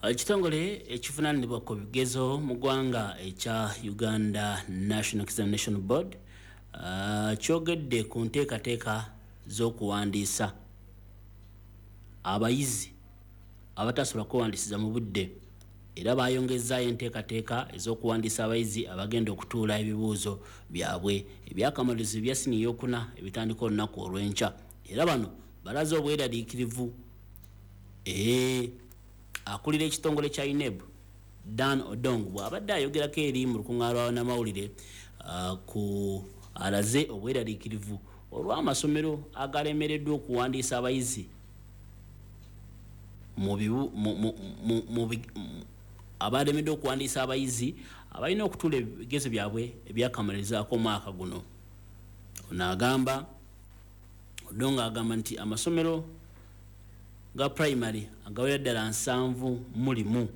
Ekitongole ekivunaanibwa ku bigezo mu ggwanga ekya Uganda National Examination Board kyogedde ku nteekateeka z'okuwandiisa abayizi abatasobola kwewandiisiza mu budde, era bayongezzaayo enteekateeka ez'okuwandiisa abayizi abagenda okutuula ebibuuzo byabwe ebyakamalirizo ebya siniya ey'okuna ebitandika olunaku olw'enkya, era bano balaze obweraliikirivu. Akulira ekitongole kya UNEB Dan Odong bw'abadde ayogerako eri mu lukuŋŋaana lwa bannamawulire ku alaze obweraliikirivu olw'amasomero agalemereddwa okuwandiisa abayizi abalemeddwa okuwandiisa abayizi abalina okutuula ebigezo byabwe ebyakamalirizaako omwaka guno. Ono agamba, Odong agamba nti amasomero ga primary agawera ddala 71,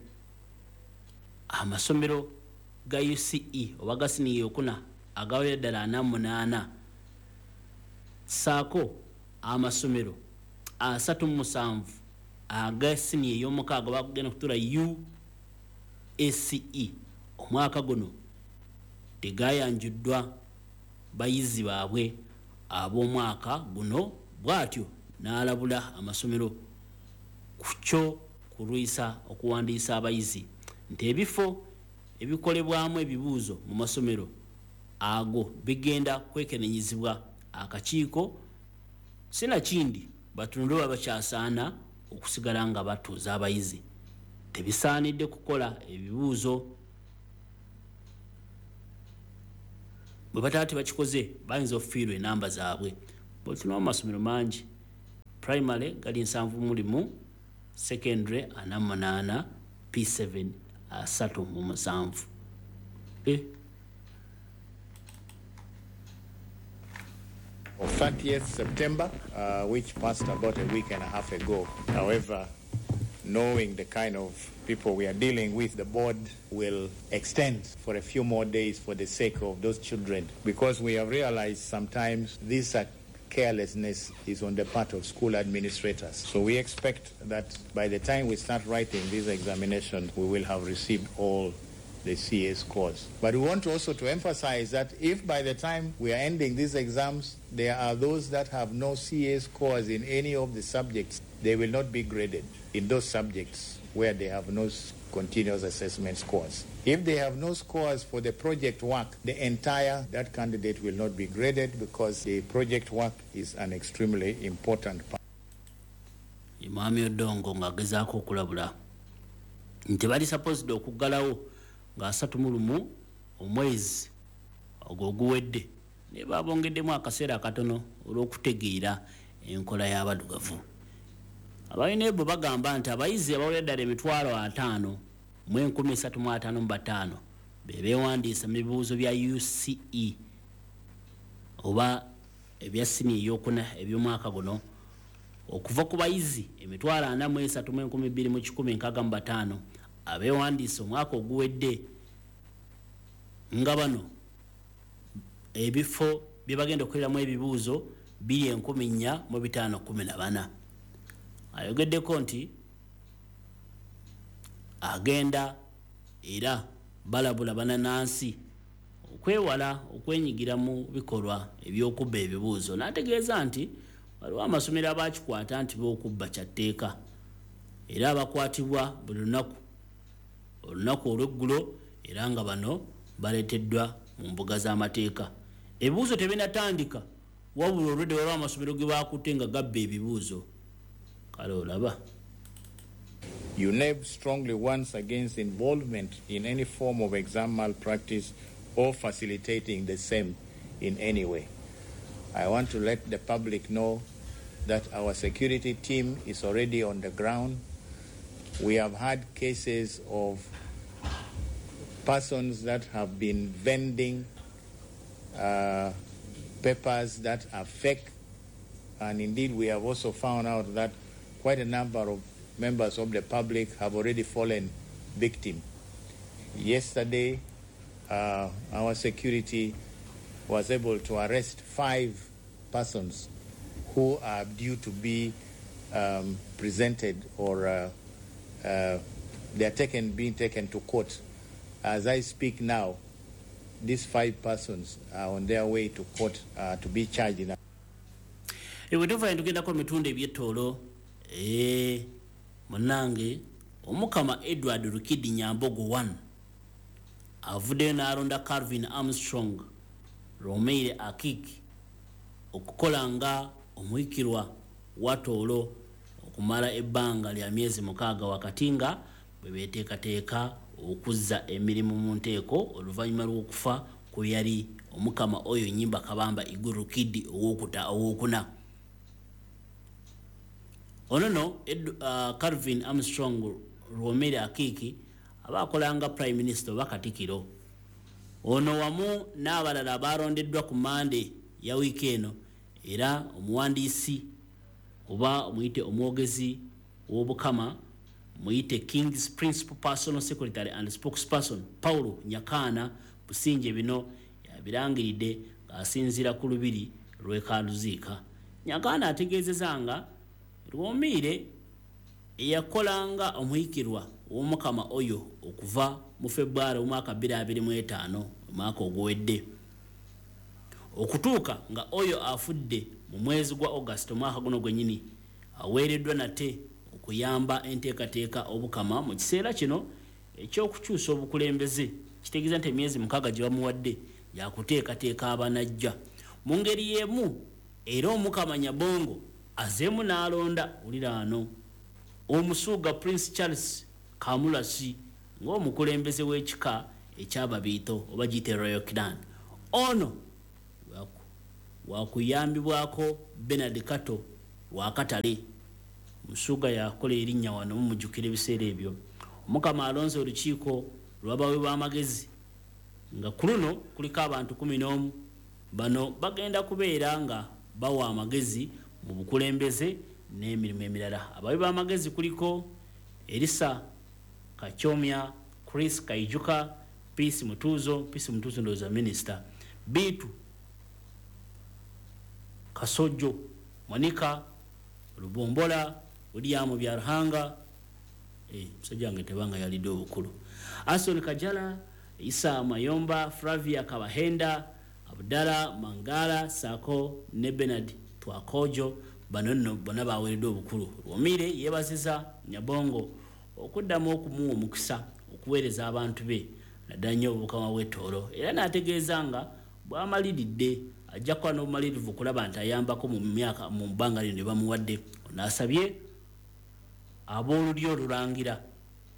amasomero ga UCE oba ga siniya eyokuna agawera ddala 48, ssaako amasomero 37 aga siniya ey'omukaaga bagenda kutuula UACE omwaka guno tegayanjuddwa bayizi baabwe ab'omwaka guno, bw'atyo n'alabula amasomero ku kyo kulwisa okuwandiisa abayizi nti ebifo ebikolebwamu ebibuuzo mu masomero ago bigenda kwekenenyezebwa akakiiko, sinakindi batunule oba bakyasaana okusigala nga batuuza abayizi. Tebisaanidde kukola ebibuuzo bwe bataba tebakikoze bayinza okufiirwa enamba zaabwe. Bw'otunula mu masomero mangi, primary gali 71, secondary 48, P7 37. Of 30th September, which passed about a week and a half ago. However, knowing the kind of people we are dealing with, the board will extend for a few more days for the sake of those children, because we have realized sometimes this carelessness is on the part of school administrators. So we expect that by the time we start writing this examination, we will have received all the CA scores. But we want also to emphasize that if by the time we are ending these exams, there are those that have no CA scores in any of the subjects, they will not be graded in those subjects where they have no continuous assessment scores. If they have no scores for the project work, the entire that candidate will not be graded, because the project work is an extremely important part. Mwami Odongo ng'agezaako okulabula nti bali supposed okuggalawo nga 31 omwezi ogwo oguwedde, naye babongeddemu akaseera akatono olw'okutegeera enkola y'abaddugavu. Aba UNEB bagamba nti abayizi abawera ddala 503,355 be beewandiisa mu bibuuzo bya UCE oba ebya siniya ey'okuna eby'omwaka guno, okuva ku bayizi 43,265 abeewandiisa omwaka oguwedde, nga bano ebifo bye bagenda okukoleramu ebibuuzo biri 4,514. Ayogeddeko nti agenda era balabula bannansi okwewala okwenyigira mu bikolwa eby'okubba ebibuuzo, n'ategeeza nti waliwo amasomero abakikwata nti b'okubba kya tteeka era abakwatibwa buli lunaku olunaku olw'eggulo, era nga bano baleeteddwa mu mbuga z'amateeka. Ebibuuzo tebinatandika, wabula olwedde waliwo amasomero ge bakutte nga gabba ebibuuzo. Kale olaba. UNEB strongly warns against involvement in any form of exam malpractice or facilitating the same in any way. I want to let the public know that our security team is already on the ground. We have had cases of persons that have been vending papers that are fake, and indeed we have also found out that quite a number of members of the public have already fallen victim. Yesterday, our security was able to arrest 5 persons who are due to be presented or They are being taken to court. As I speak now, these 5 persons are on their way to court to be charged in. Ewetuva tugendako mitundu ebyettoolo munnange Omukama Edward Rukidi Nyambogo 1 avuddeyo n'alonda Calvin Armstrong Romeire Akiki okukola nga omuhikirwa wa Tooro okumala ebbanga lya myezi 6 wakati nga bwe beeteekateeka okuzza emirimu mu nteeko oluvannyuma lw'okufa kwe yali Omukama oyo Nyimba Kabamba Iguru Rukidi owokuna. Ono no Calvin Armstrong Romeire Akiki abakolanga Prime Minister oba Katikiro. Ono wamu n'abalala abalondeddwa ku Mande ya wiiki eno, era omuwandiisi oba muyite omwogezi w'Obukama, muyite King's Principal Personal Secretary and Spokesperson Paulo Nyakana Businje bino yabirangiridde ng'asinziira ku lubiri lw'e Kaluziika. Nyakana ategeezezza nga Rwomiire eyakolanga omuhikirwa w'Omukama oyo okuva mu February omwaka 2025 omwaka oguwedde okutuuka nga oyo afudde mu mwezi gwa August omwaka guno gwennyini, aweereddwa nate okuyamba enteekateeka Obukama mu kiseera kino ekyokukyusa obukulembeze. Kitegeeza nti emyezi 6 gye bamuwadde yakuteekateeka abanajja. Mu ngeri y'emu era Omukama Nyabongo azeemu n'alonda uliraano Omusuuga Prince Charles Kamulasi ng'omukulembeze w'ekika ekyababiito oba giyite Royal Clan. Ono wakuyambibwako Bernard Kato Wakatale. Musuuga yakola erinnya wano mumujjukira ebiseera ebyo. Omukama alonze olukiiko lw'abawi b'amagezi nga ku luno kuliko abantu 11. Bano bagenda kubeera nga bawa amagezi mu bukulembeze n'emirimu emirala. Abawi b'amagezi kuliko Elisa Kachomya, Chris Kaijuka, Peace Mutuzo, Peace Mutuzo ndowooza minisita, Bitu Kasojo, Monica Lubombola, William Byaruhanga, musajja wange tebanga yalidde obukulu, Ason Kajala, Isa Mayomba, Flavia Kabahenda, Abdala Mangala, Sako ne Bernard Twakojo. Bano nno bonna baweereddwa obukulu. Rwomiire yeebaziza Nyabongo okuddamu okumuwa omukisa okuweereza abantu be naddala nnyo Obukama bw'e Tooro, era n'ategeeza nga bw'amaliridde ajja kuba n'obumalirivu okulaba nti ayambako mu myaka mu bbanga lino lye bamuwadde. Ono asabye ab'olulyo olulangira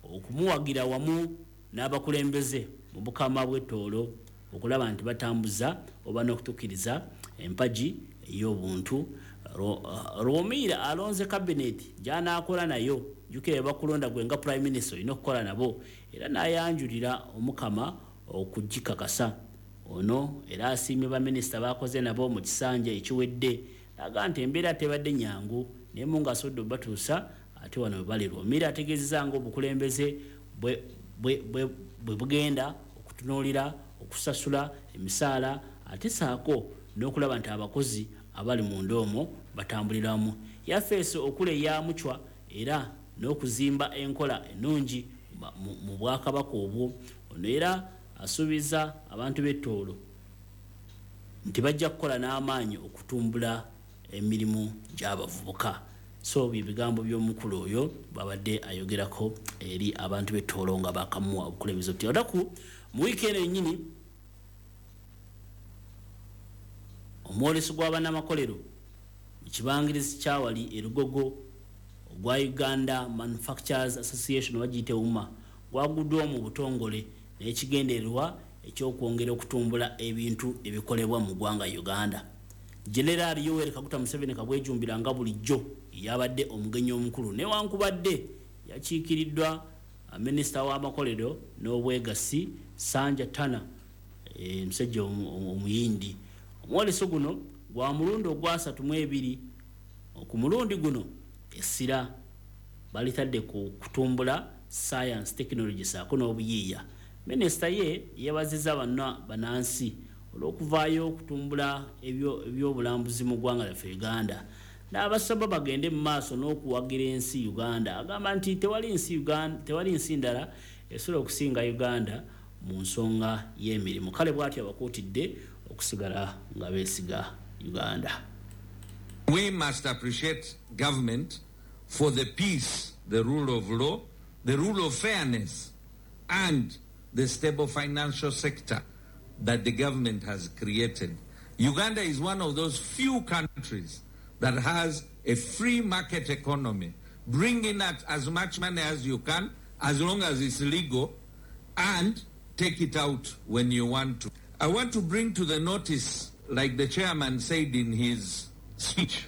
okumuwagira wamu n'abakulembeze mu Bukama bw'e Tooro okulaba nti batambuza oba n'okutuukiriza empagi ey'obuntu. Rwomiire alonze kabineti gy'anaakola nayo. Jjukira bakulonda gwe nga Prime Minister olina okukola nabo, era n'ayanjulira Omukama okugikakasa. Ono era asiimye baminisita baakoze nabo mu kisanja ekiwedde, n'agamba nti embeera tebadde nnyangu naye Mungu asobodde obatuusa ate wano we bali. Rwomiire ategeezezza ng'obukulembeze bwe bugenda okutunuulira okusasula emisaala ate saako n'okulaba nti abakozi abali munda omwo batambuliramu. Yafeesi okuleya Mucwa era n'okuzimba enkola ennungi mu bwakabaka obwo. Ono era asuubiza abantu b'e Tooro nti bajja kukola n'amaanyi okutumbula emirimu gy'abavubuka. So bye bigambo by'omukulu oyo bw'abadde ayogerako eri abantu b'e Tooro nga bakamuwa obukulembeze buti. Olunaku mu wiiki eno yennyini omwoleso gw'abannamakolero mu kibangirizi kyawali e Lugogo ogwa Uganda Manufacturers Association oba giyite UMA gwaguddwa mu butongole n'ekigendererwa ekyokwongera okutumbula ebintu ebikolebwa mu ggwanga Uganda. General Yoweri Kaguta Museveni kabwejumbira nga bulijjo yabadde omugenyi omukulu, newankubadde yakiikiriddwa minisita w'amakolero n'obwegassi Sanja Tana, omusajja omuyindi. Omwoleso guno gwa mulundi ogwa 32. Ku mulundi guno essira balitadde ku kutumbula science, technology saako n'obuyiiya. Minisita ye yeebazizza bannansi olw'okuvaayo okutumbula ebyobulambuzi mu ggwanga lyaffe Uganda, N'abasaba bagende mu maaso n'okuwagira ensi Uganda. Agamba nti tewali nsi Uganda, tewali nsi ndala esobola okusinga Uganda mu nsonga y'emirimu. Kale bw'atyo abakuutidde okusigala nga beesiga Uganda. We must appreciate government for the peace, the rule of law, the rule of fairness, and the stable financial sector that the government has created. Uganda is one of those few countries that has a free market economy. Bring in as much money as you can, as long as it's legal, and take it out when you want to. I want to bring to the notice, like the chairman said in his speech,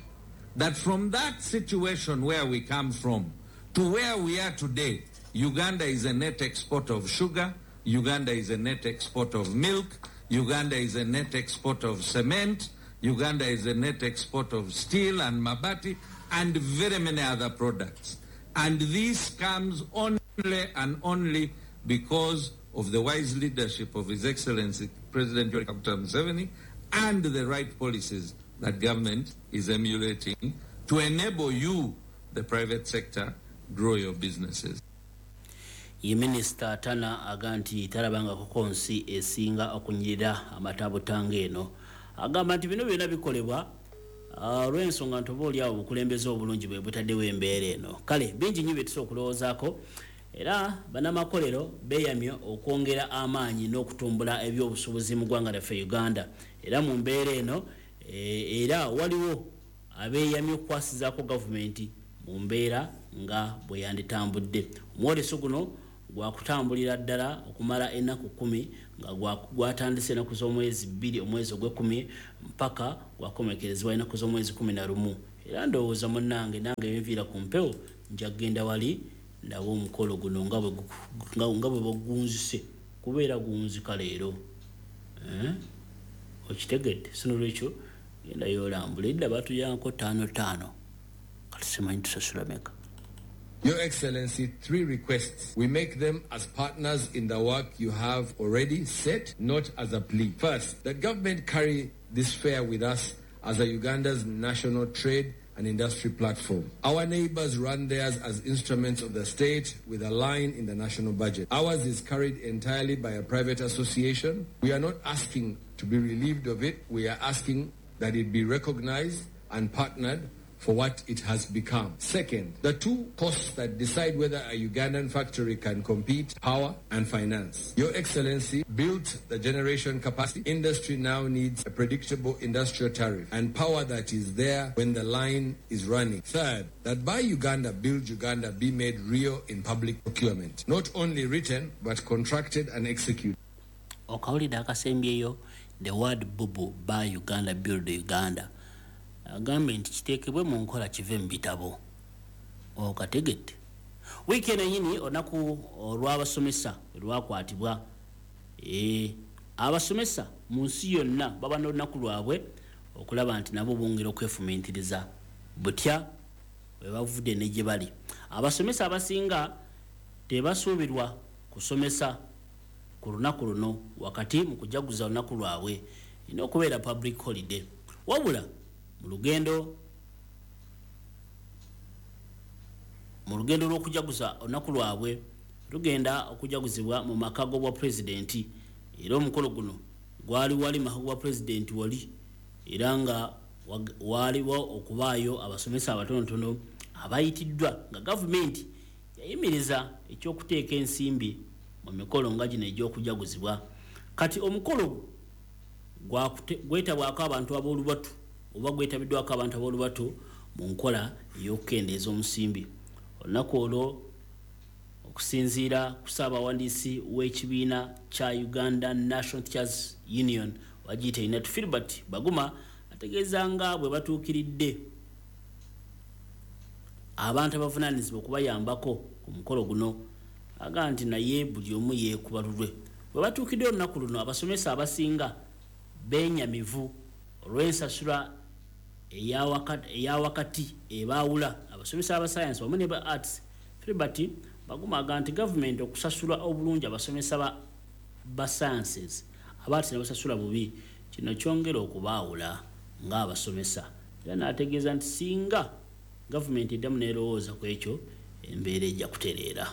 that from that situation where we come from to where we are today, Uganda is a net exporter of sugar, Uganda is a net exporter of milk, Uganda is a net exporter of cement, Uganda is a net exporter of steel and mabati, and very many other products. And this comes only and only because of the wise leadership of His Excellency President Yoweri Kaguta Museveni and the right policies that government is emulating to enable you, the private sector, grow your businesses. Ye Minisita Tana aga nti talabangako nsi esinga okunyirira amatabutanga eno. Agamba nti bino byonna bikolebwa olw'ensonga nti oba oliawo obukulembeze obulungi bwe butaddewo embeera eno. Kale bingi nnyo bye tusobola okulowoozaako, era bannamakolero beeyamye okwongera amaanyi n'okutumbula ebyobusuubuzi mu ggwanga lyaffe Uganda. Era mu mbeera eno era waliwo abeeyamye okukwasizaako gavumenti mu mbeera nga bwe yanditambudde. Omwoleso guno gwakutambulira ddala okumala ennaku 10 nga gwatandise ennaku z'omwezi 2 omwezi ogw'ekumi mpaka gwakomekerezebwa ennaku z'omwezi 11. Era ndowooza munnange nange enviira ku mpewo nja kugenda wali ndabe omukolo guno nga bwe bagunzise, kubeera gunzika leero. Okitegedde? So nolwekyo genda yolambula edda batuyanko 5-5, kati simanyi tusasula meka. Your Excellency, 3 requests. We make them as partners in the work you have already set, not as a plea. First, that government carry this fair with us as a Uganda's national trade and industry platform. Our neighbors run theirs as instruments of the state with a line in the national budget. Ours is carried entirely by a private association. We are not asking to be relieved of it. We are asking that it be recognized and partnered for what it has become. Second, the 2 costs that decide whether a Ugandan factory can compete, power and finance. Your Excellency built the generation capacity. Industry now needs a predictable industrial tariff and power that is there when the line is running. Third, that Buy Uganda, Build Uganda be made real in public procurement. Not only written, but contracted and executed. Okawulidde akasembyeyo, the word bubu, Buy Uganda, Build Uganda. Agambye nti kiteekebwe mu nkola kive mu bitabo. Okategedde? Wiiki eno yennyini olunaku olw'abasomesa lwakwatibwa. Abasomesa mu nsi yonna baba n'olunaku lwabwe okulaba nti nabo bongera okwefumiitiriza butya bwe bavudde ne gye bali. Abasomesa abasinga tebasuubirwa kusomesa ku lunaku luno wakati mu kujaguza olunaku lwabwe, erina okubeera public holiday. Wabula mu lugendo lw'okujaguza olunaku lwabwe lugenda okujaguzibwa mu maka g'obwa pulezidenti. Era omukolo guno gwali wali maka g'obwa pulezidenti wali, era nga waliwo okubaayo abasomesa abatonotono abayitiddwa nga gavumenti yayimiriza ekyokuteeka ensimbi mu mikolo nga gino egy'okujaguzibwa. Kati omukolo gwetabwako abantu ab'olubatu oba gwetabiddwako abantu ab'olubatu mu nkola ey'okukendeeza omusimbi. Olunaku olwo okusinziira ku ssaabawandiisi w'ekibiina kya Uganda National Teachers Union wagiyita UNATU, Filbert Baguma, ategeeza nga bwe batuukiridde abantu abavunaanyizibwa okubayambako ku mukolo guno. Agamba nti naye buli omu yeekuba lulwe. Bwe batuukidde olunaku luno, abasomesa abasinga benyamivu olw'ensasula eyawakati ebaawula abasomesa aba science wamu ne ba arts. Filbert Baguma agamba nti gavumenti okusasula obulungi abasomesa ba sciences, aba arts ne basasula bubi, kino kyongera okubaawula ng'abasomesa. Era n'ategeeza nti singa gavumenti eddamu n'erowooza ku ekyo, embeera ejja kutereera.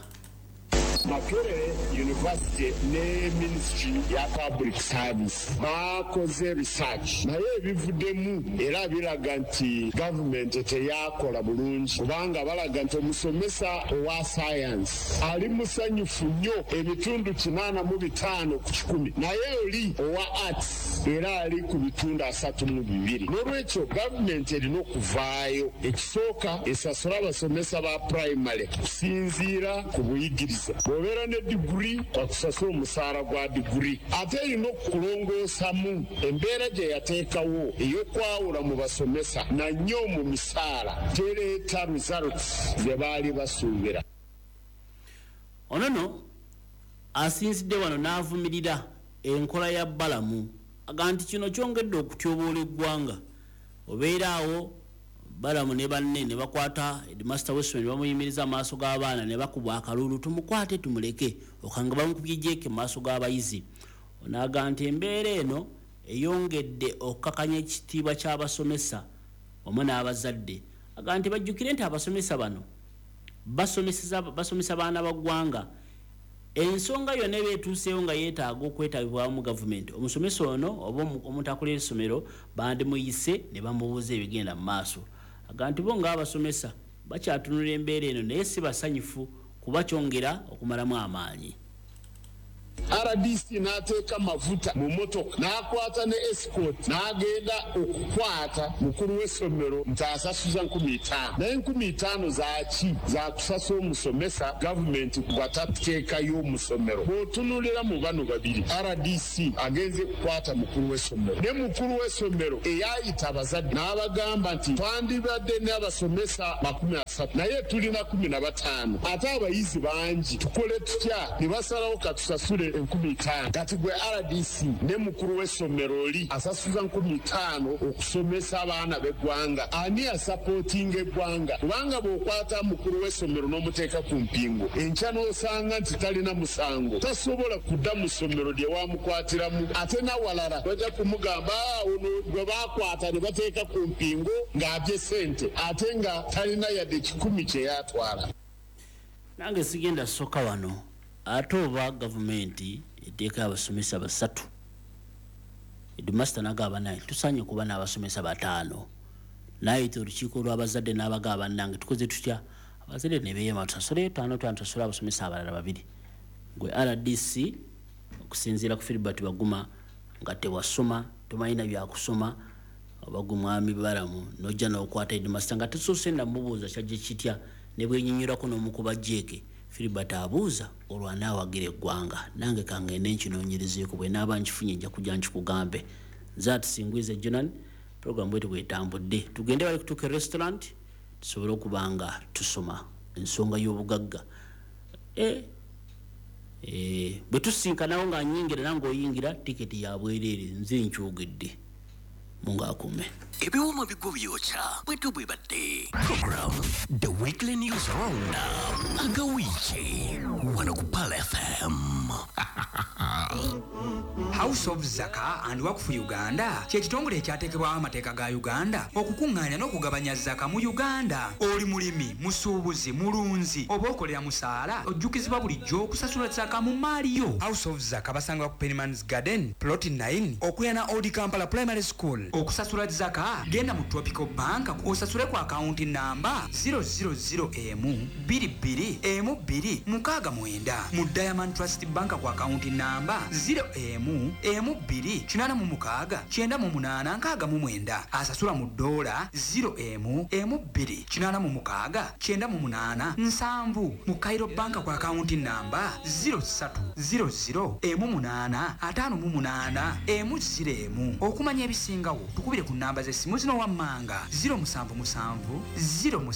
Makerere University ne Ministry ya Public Service bakoze research, naye ebivuddemu era biraga nti gavumenti teyakola bulungi, kubanga balaga nti omusomesa owa science ali musanyufu nnyo 85 ku 100, naye oli owa arts era ali ku 32. N'olwekyo gavumenti erina okuvaayo, ekisooka esasula abasomesa ba primary kusinziira ku buyigirize. Bw'obeera ne diguri bakusasula omusaala gwa diguri. Ate erina okulongoosamu embeera gye yateekawo ey'okwawula mu basomesa na nnyo mu misaala, tereeta results ze baali basuubira. Ono nno asinzidde wano n'avumirira enkola ya Balamu, aga nti kino kyongedde okutyoboola eggwanga. Obeera awo Balamu ne banne ne bakwata headmaster w'essomero ne bamuyimiriza amaaso g'abaana ne bakuba akalulu, tumukwate tumuleke, okanga bamukubye jeeke mu maaso g'abayizi. Ono aga nti embeera eno eyongedde okukakanya ekitiibwa ky'abasomesa wamu n'abazadde. Aga nti bajjukire nti abasomesa bano basomesa baana ba ggwanga. Ensonga yonna eba etuuseewo nga yeetaaga okwetabibwamu gavumenti, omusomesa ono oba omuntu akulira essomero bandimuyise ne bamubuuza ebigenda mu maaso. Aga nti bo ng'abasomesa bakyatunula embeera eno, naye si basanyufu kuba kyongera okumalamu amaanyi. RDC n'ateeka mafuta mu motoka n'akwata ne escort n'agenda okukwata mukulu w'essomero nti asasuza 5,000, naye 5,000 zaaki? Zakusasula omusomesa gavumenti gw'atateekayo omusomero. Bw'otunuulira mu bano babiri, RDC agenze kukwata mukulu w'essomero, ne mukulu w'essomero eyayita abazadde n'abagamba nti twandibadde n'abasomesa 30 naye tulina 15, ate abayizi bangi, tukole tutya? Ne basalawo katusasule 5,000. Kati gwe RDC ne mukulu w'essomero oli asasuza 5,000 okusomesa abaana b'eggwanga, ani asapootinga eggwanga? Kubanga bw'okwata mukulu w'essomero n'omuteeka ku mpingu, enkya n'osanga nti talina musango, tasobola kudda mu ssomero lye wamukwatiramu. Ate n'awalala bajja kumugamba ono gwe baakwata ne bateeka ku mpingu ng'abye ssente, ate nga talina yadde 10 kye yatwala. Nange sigenda soka wano. Ate oba gavumenti eteeka abasomesa 3, headmaster n'agamba naye tusaanye kuba n'abasomesa 5, n'ayita olukiiko lw'abazadde n'abagamba bannange tukoze tutya? Abazadde ne beeyama tusasule 5 tusasule abasomesa abalala 2. Gwe RDC okusinziira ku Filbert Baguma nga tewasoma, tomanyina byakusoma, oba gwe mwami Balamu n'ojja n'okwata headmaster nga tesoose namubuuza kyajje kitya, ne bwenyinyirako n'omukuba jeeke. Filbert abuuza olwo anaawagira eggwanga. Nange kangende nkinoonyerezeeko, bwe naaba nkifunye nja kujja nkikugambe. Nze Atusingwize Jonan, program bwetu bwetambudde. Tugende bali kutuuka restaurant tusobole okuba nga tusoma ensonga y'obugagga. Bwe tusinkanawo nga nnyingira nange oyingira, tiketi ya bwereere, nze nkyogedde. Mungu akume. Ebiwoma bigwo byokya bwetu bwe badde. Program The Weekly News Roundup agawiiki wano ku Pearl FM. House of Zaka and Wakfu Uganda kye kitongole ekyateekebwawo amateeka ga Uganda okukuŋŋaanya n'okugabanya zaka mu Uganda. Oli mulimi, musuubuzi, mulunzi oba okolera musaala, ojjukizibwa bulijjo okusasula zaka mu maali yo. House of Zaka basangibwa ku Pennyman's Garden Plot 9 okuliraana Old Kampala Primary School. Okusasula zaka genda mu Tropical Bank osasule ku akawunti namba 000M 22 M2 69, mu Diamond Trust Bank ku akawunti namba 0M M2 86 98 69, asasula mu dola 0M M2 86 98 7, mu Cairo Bank ku akawunti namba 03 00 M8 58 M0. Okumanya ebisingawo tukubire ku namba z'essimu zino wammanga 077 07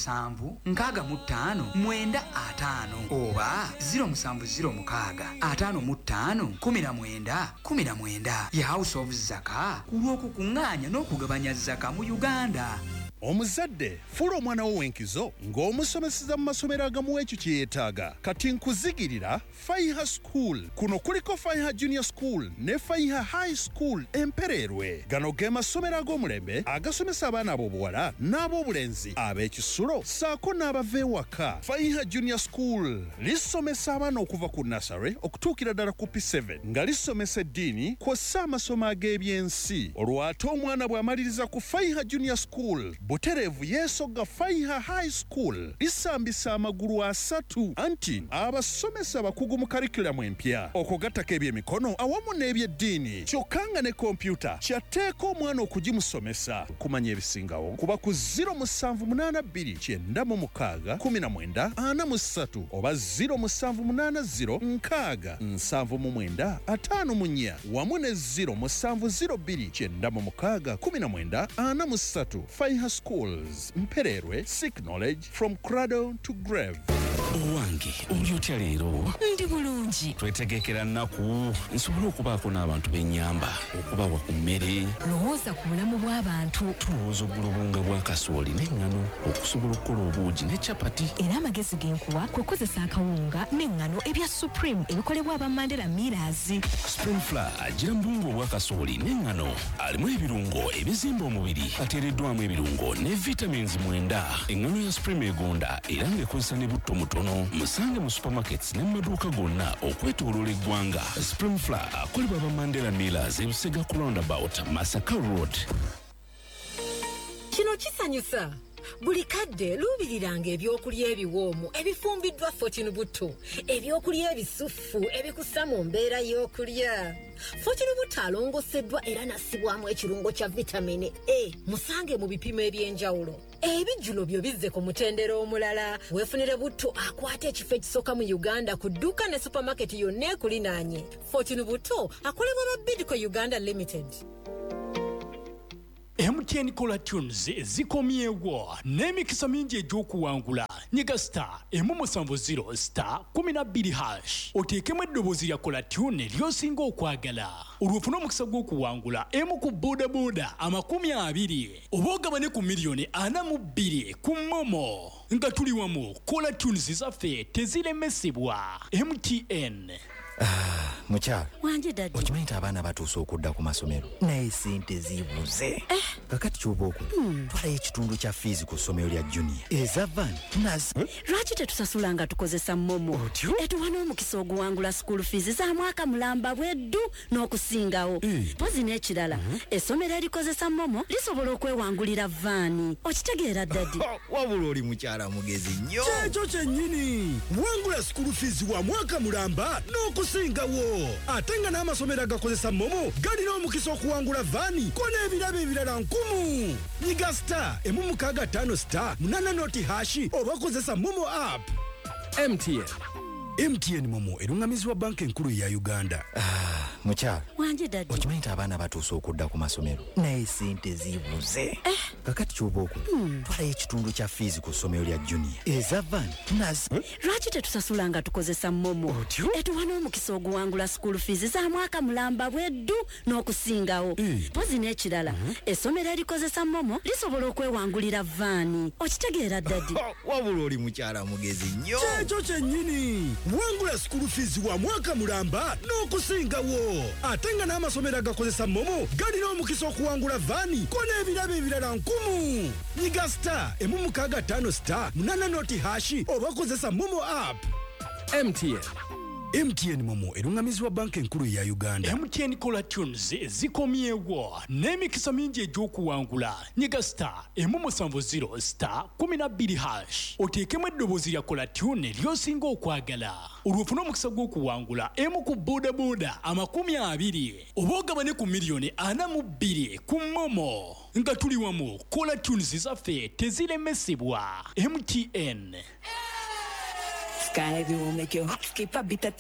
65 95 oba 0706 55 19 19. Ye House of Zaka ku lw'okukuŋŋaanya n'okugabanya zaka mu Uganda. Omuzadde, fuula omwana wo w'enkizo ng'omusomeseza mu masomero agamuwa ekyo kye yeetaaga. Kati nkuzigirira Faiha School. Kuno kuliko Faiha Junior School ne Faiha High School Empereerwe. Gano ge masomero ag'omulembe agasomesa abaana ab'obuwala n'ab'obulenzi ab'ekisulo ssaako n'abava ewaka. Faiha Junior School lisomesa abaana okuva ku nursery okutuukira ddala ku P7 nga lisomesa eddiini kw'ossa amasomo ag'ebyensi. Olwo ate omwana bw'amaliriza ku Faiha Junior School, butereevu yeesogga Faiha High School. Lisambisa amagulu asatu anti abasomesa bakugu mu curriculum empya, okugattako ebyemikono awamu n'ebyeddiini, kyokka nga ne kompyuta kyatteeka omwana okugimusomesa. Kumanya ebisingawo kuba ku 0782 96 19 43 oba 0780 6 79 54 wamu ne 0702 96 19 43. Faiha Schools, Mpererwe, seek knowledge from cradle to grave. Owange, oli otya leero? Ndi bulungi. Twetegekera nnaku nsobole okubaako n'abantu b'ennyamba okubawa ku mmere. Lowooza ku bulamu bw'abantu. Tulowooza ogula obuwunga bwa kasooli n'eŋŋano okusobola okukola obuugi ne capati. Era amagezi ge nkuwa kwe kukozesa akawunga n'eŋŋano ebya Supreme ebikolebwa aba Mandela Millers. Supreme Flour agira mu buwunga obwa kasooli n'eŋŋano, alimu ebirungo ebizimba omubiri, ateereddwamu ebirungo ne vitamins 9. Eŋŋano ya Supreme egonda era ng'ekozesa ne butto mutono. Musange mu supermarkets ne mu maduuka gonna okwetooloola eggwanga. Supreme Flour akolebwa aba Mandela Millers, Ebusega ku roundabout, Masaka Road. Kino kisanyusa. Buli kadde luubiriranga ebyokulya ebiwoomu ebifumbiddwa Fortune Butto, ebyokulya ebisuffu ebikussa mu mbeera y'okulya. Fortune Butto alongoseddwa era n'assibwamu ekirungo kya vitamini A. Musange mu bipimo eby'enjawulo. Ebijjulo byo bizze ku mutendera omulala. Weefunire butto akwata ekifo ekisooka mu Uganda ku dduuka ne supamaketi yonna ekulinaanye. Fortune Butto akolebwa ba Bidco Uganda Limited. MTN Caller Tunes zikomyewo n'emikisa mingi egy'okuwangula. Nyiga star 170 star 12 hash, oteekemu eddoboozi lya caller tune ly'osinga okwagala, olwo ofune omukisa gw'okuwangula emu ku bodaboda 20 oba ogabane ku miliyoni 42 ku MoMo. Nga tuli wamu, caller tunes zaffe teziremesebwa. MTN. Mukyala. Wanje daddy. Okimanyi nti abaana batuuse okudda ku masomero, naye sente zibuze. Kakati kyoba okola, twalayo ekitundu kya fiizi ku ssomero lya junior eza van nazi. Lwaki tetusasula nga tukozesa MoMo? Etuwa n'omukisa oguwangula school fees za mwaka mulamba bweddu n'okusingawo. Mpozi n'ekirala, essomero erikozesa MoMo lisobola okwewangulira vaani. Okitegeera daddy? Wabula oli mukyala mugezi nnyo. Kyekyo kyennyini, wangula school fees wa mwaka mulamba n'okusingawo. Ate nga n'amasomero agakozesa MoMo galina omukisa okuwangula vaani ko n'ebirabo ebirala 10. Nyiga star 165 star 8 noti hashi oba kozesa MoMo app. MTN. MTN MoMo erungamizibwa banka enkulu ya Uganda. Mukyala. Wanje daddy. Okimanyi nti abaana batuuse okudda ku masomero, naye sente zibuze. Kakati kyoba okola, twalayo ekitundu kya fiizi ku ssomero lya junior eza van nazi. Lwaki tetusasula nga tukozesa MoMo? Etuwa n'omukisa oguwangula school fees za mwaka mulamba bweddu n'okusingawo. Mpozi n'ekirala, essomero erikozesa MoMo lisobola okwewangulira vaani. Okitegeera daddy? Wabula oli mukyala mugezi nnyo. Kyekyo kyennyini, wangula school fees wa mwaka mulamba n'okusingawo. Ate nga n'amasomero agakozesa MoMo galina omukisa okuwangula vaani ko n'ebirabo ebirala 10. Nyiga star 165 star 8 noti hashi oba kozesa MoMo app. MTN. MTN MoMo erungamizibwa banka enkulu ya Uganda. MTN Caller Tunes zikomyewo n'emikisa mingi egy'okuwangula. Nyiga star 170 star 12 hash, oteekemu eddoboozi lya caller tune ly'osinga okwagala, olwo ofune omukisa gw'okuwangula emu ku bodaboda 20 oba ogabane ku miliyoni 42 ku MoMo. Nga tuli wamu, caller tunes zaffe teziremesebwa. MTN. Sky will make your heart skip a beat.